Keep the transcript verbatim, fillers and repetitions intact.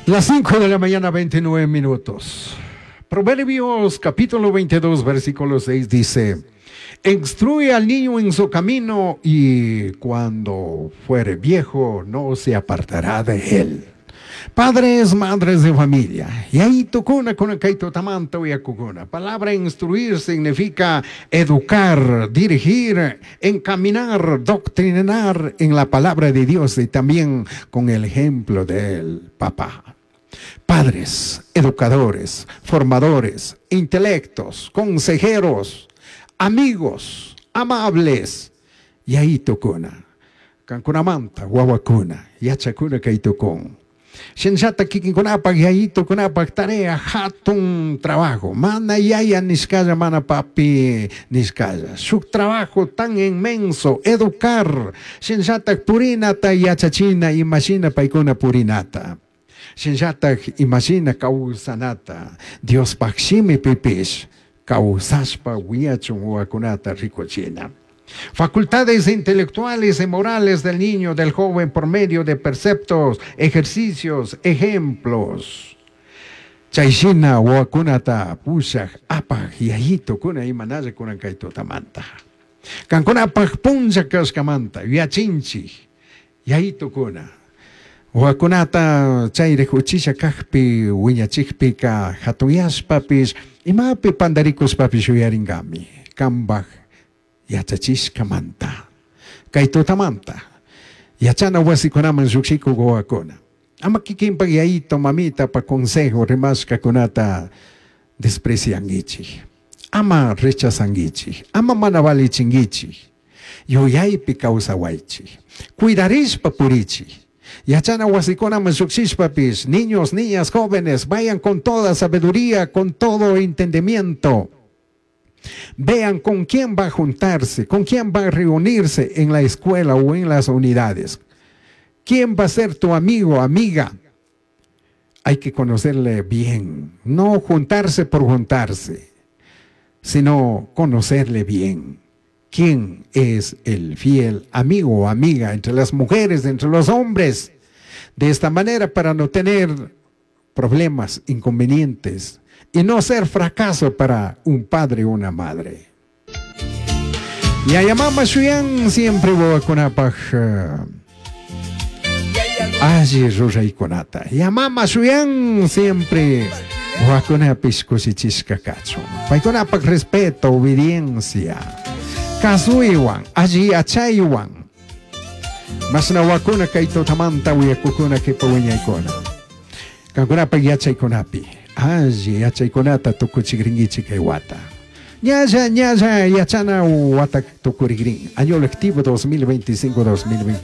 Las cinco de la mañana, veintinueve minutos. Proverbios capítulo veintidós, versículo seis dice: "Instruye al niño en su camino y cuando fuere viejo no se apartará de él". Padres, madres de familia. Yayitocuna con tamanta. Palabra instruir significa educar, dirigir, encaminar, doctrinar en la palabra de Dios y también con el ejemplo del papá. Padres, educadores, formadores, intelectos, consejeros, amigos, amables. Yayitocuna. Kankunamanta, wawakuna, yachakuna kaytukun. Shinllata kikinkunapaq yayitukunapaq tarea hatun trabajo. Mana yaya nishkalla, mana papi nishkalla. Shuk trabajo tan inmenso, educar. Shinllata purinata yachachina, imashina paykuna purinata. Shinllatak imashina kawsanata. Diospaq shimipipish kawsashpa wiñachun wawakunata rikuchina. Facultades intelectuales y morales del niño, del joven, por medio de preceptos, ejercicios, ejemplos. Chayshina wawakunata pushaj apaj yayitukuna imanalla kunan kay tutamanta. Kankunapaj punlla kashkamanta yachinchik yayitukuna. Wawakunata chayrik uchilla kajpi wiñachikpika hatuyashpapish imapi pandarikushpapish yuyarinkami kambaj yachachishkamanta. Kay tutamanta yachana wasikunaman llukshikuk wawakuna ama kikinpak yayito mamitapa consejo rimashkakunata despreciankichik, ama rechazankichik, ama mana valichinkichik. Yuyaypi kawsawaychik, cuidarishpa purichik. Yachana wasikunaman llukshishpapish, niños, niñas, jóvenes, vayan con toda sabiduría, con todo entendimiento. Vean con quién va a juntarse, con quién va a reunirse en la escuela o en las unidades. ¿Quién va a ser tu amigo, amiga? Hay que conocerle bien, no juntarse por juntarse, sino conocerle bien. ¿Quién es el fiel amigo o amiga entre las mujeres, entre los hombres? De esta manera, para no tener problemas, inconvenientes y no ser fracaso para un padre o una madre. Yaya mama shuyan siempre wawakunapaj alli ruraykunata. Yamama shuyan siempre wawakunapish kushichishka kachun. Paykunapaj respeto, obediencia, kasuywan, alli yachaywan. Mashna wawakuna kay tutamanta uyakukuna kipa wiñaykuna. Kankunapaj yachaykunapi, alli yachaykunata tukuchikrinkichik kay wata. Ñalla, ñalla yachana wata tukurikrin. Año lectivo dos mil veinticinco dos mil veintiséis.